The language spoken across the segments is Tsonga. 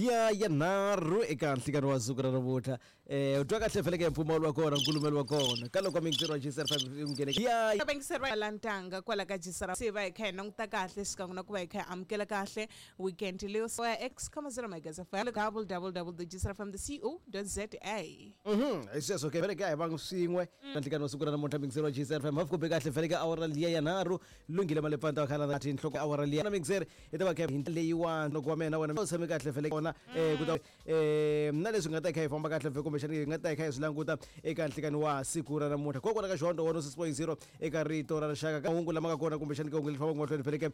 Liya ya nharhu eka nhlikani wa siku ra namuntlha. U twa kahle feleke mpfumawulo wa kona, nkulumelo wa kona. Ka loko mixer wa GCR 5 u nghene. Ya vayingiseri va lantanga kwala ka GCR se va hi kha hi languta kahle xikan'we na ku va hi kha hi amukela kahle weekend leyo so ya x comma 0 megas fm www.gcrfm.co.za. Hi sweswo ke feleke a hi vangi swin'we ka nhlikani wa siku ra namuntlha mixer wa GCR 5 hafu kumbe kahle feleke awara liya ya nharhu lunghile malepfanta wa khala na nhloko awara liya na mixer hi ta va kha hi leyiwani loko wa mina wena u tshame kahle feleke kona ku ta na leswi nga ta kha hi famba kahle vhe kumbexana hi nga ta hi kha hi swi languta eka nhlikani wa siku ra namuntlha kokwala ka xihondzo 106.0 eka rito ra rixaka ka hungu lama nga kona kumbexana ka hungu leri fambaka mahlweni feleke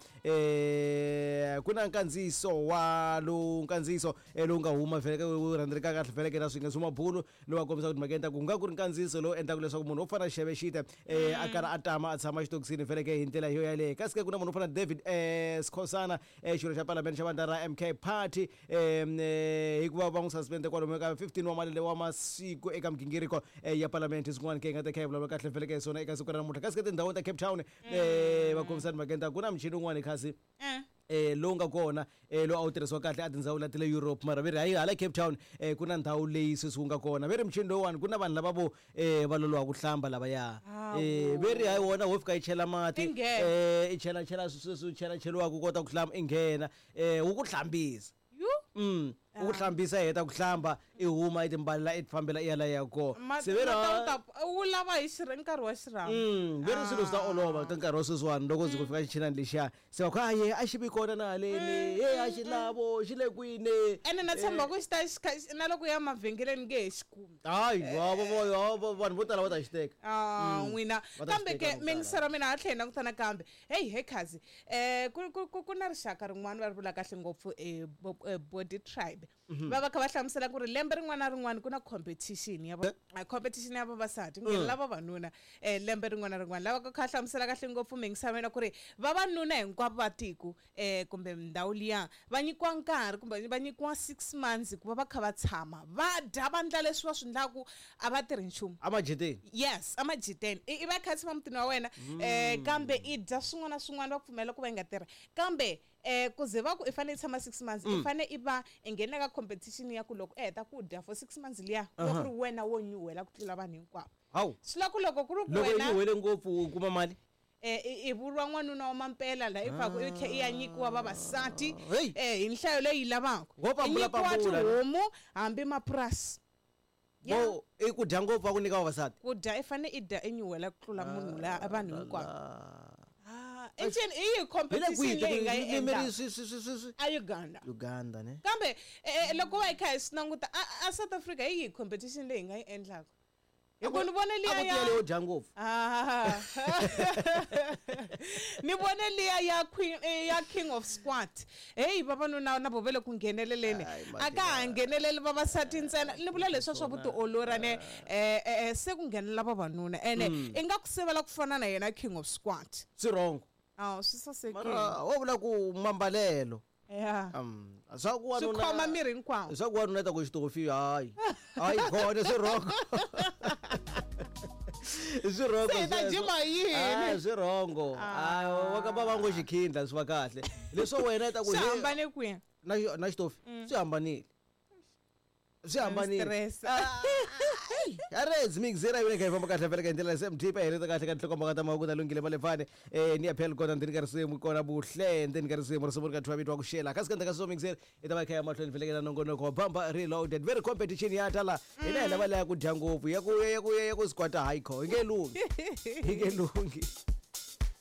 ku na nkandziyiso wa lowu nkandziyiso lowu nga huma feleke wu rhandzereka kahle feleke na swinge swa mabulu lowu a kombisaka timhaka ta ku nga ku ri nkandziyiso lowu endlaka leswaku munhu wo fana xeve xite a karhi a tama a tshama xitokisini feleke hi ndlela yo yaleyo kasi ke ku na munhu wo fana David Skhosana xirho xa palamende xa vandla ra MK Party hikuva va n'wi suspende kwalomu ka 15 wa malembe wa masiku eka migingiriko ya palamende swin'wana ke hi nga ta kha hi vulavula kahle feleke hi swona eka siku ra namuntlha kasi ke tindhawini ta Cape Town va kombisa timhakeni ta ku na muchini wun'wana khasi lowu nga kona lowu a wu tirhisiwa kahle a tindhawu la ta le Europe mara ve ri hayi hala Cape Town ku na ndhawu leyi sweswi wu nga kona ve ri muchini lowuwani ku na vanhu lava vo va loloha ku hlamba lavaya ve ri hayi wona wo fika i chela mati i chela chela sweswi chela cheliwaka u kota ku hlamba i nghena wu ku hlambisa u ku hlambisa i heta ku hlamba i huma i timbalela i tifambela i ya la ya kona se ve ri wu lava hi nkarhi wa xirhami ve ri swilo swi ta olova ka nkarhi wa sweswiwani loko ndzi ku fika xichinani lexiya se va ku a ye a xi vi kona na haleni he a xi lavo xi le kwini ene na tshemba ku xi ta xi kha na loko ya mavhengeleni nge he xi kumi hayi vanhu vo tala va ta xi teka n'wina kambe ke mingisero mina ha tlhela languta nakambe heyi he khazi ku na rixaka rin'wana va ri vula kahle ngopfu body tribe va va kha va hlamusela ku ri lembe rin'wana na rin'wana ku na competition ya competition ya vavasati nghenela vavanuna lembe rin'wana na rin'wana lava kha hlamusela kahle ngopfu mingisavena ku ri vavanuna hinkwavo va tiko kumbe ndhawu liya va nyikiwa nkarhi kumbe va nyikiwa 6 months ku va va kha va tshama va dya va ndla leswi va swi ndlaku a va tirhi nchumu amajiteni yes amajiteni i va kha tshama mutini wa wena kambe i dya swin'wana na swin'wana va pfumela ku va yi nga tirhi kambe ku ze va ku i fanele i tshama 6 months i fanele i va i nghena ka competition ya ku loko i heta ku dya for 6 months liya ku va ku ri wena wo nyuhela ku tlula vanhu hinkwavo hawu swi la ku loko ku ri ku loko i wena nyuhele ngopfu u kuma mali i vuriwa n'wanuna wa mampela la i faku i tlhe i ya nyikiwa vavasati Hey. hi nhlayo leyi yi lavaka Wo i pambula nyikiwa pambula. tihomu hambi mapurasi Vo i ku dya ngopfu va ku nyika vavasati ku dya i fane i dya i nyuhela ku tlula munhu la vanhu hinkwavo i ncini i yihi hi le competition kwihi leyi hi nga yi ririmi endlaka ri swi swi swi swi swi a Uganda Uganda ne kambe loko va hi kha hi swi languta a South Africa hi yihi competition leyi hi nga yi endlaka hi ku ni vone a liya ku ya tiyele yo dya ngopfu ni vone liya ya queen ya king of squat heyi vavanuna na vo ve le ku ngheneleleni Ai, a ka ha ngheneleli vavasati ntsena ni vula leswiya swa vutiolori ne se ku nghenelela vavanuna ene i nga ku sivela ku fana na yena king of squat swi wrong a swi sasekile mara wo vula ku mambalelo ya swa ku swi wanuna khoma miri hinkwawo swa ku wanuna ta ku xitofi hayi hayi kona swi wrong swi wrong Se hi ta sweswo. jima hi yini? Ah, swi wrong ah wa ka va ngo xikhindla swi va kahle leswo wena i ta ku swi he, hambane kwihi na na xitofi swi hambanile swi hambanile stress arezi mixera yona kha yi famba kahle vele ka hi ndlela SMT pa heleta kahle ka nhlokomhaka ta mahungu na lunghile malefane ni ya phela kona ndzeni ka risimu kona buhle ndzeni ka risimu risimu ri ka thiwa vito wa ku xela kasi ka ndzhaku ka sweswo mixera i ta va kha ya mahlweni vele na nongonoko wa bamba reloaded very competition ya tala hina hi lava leya ku dya ngopfu ya ku ya ku ya ku squata hayi kho yi nge lunghi yi nge lunghi.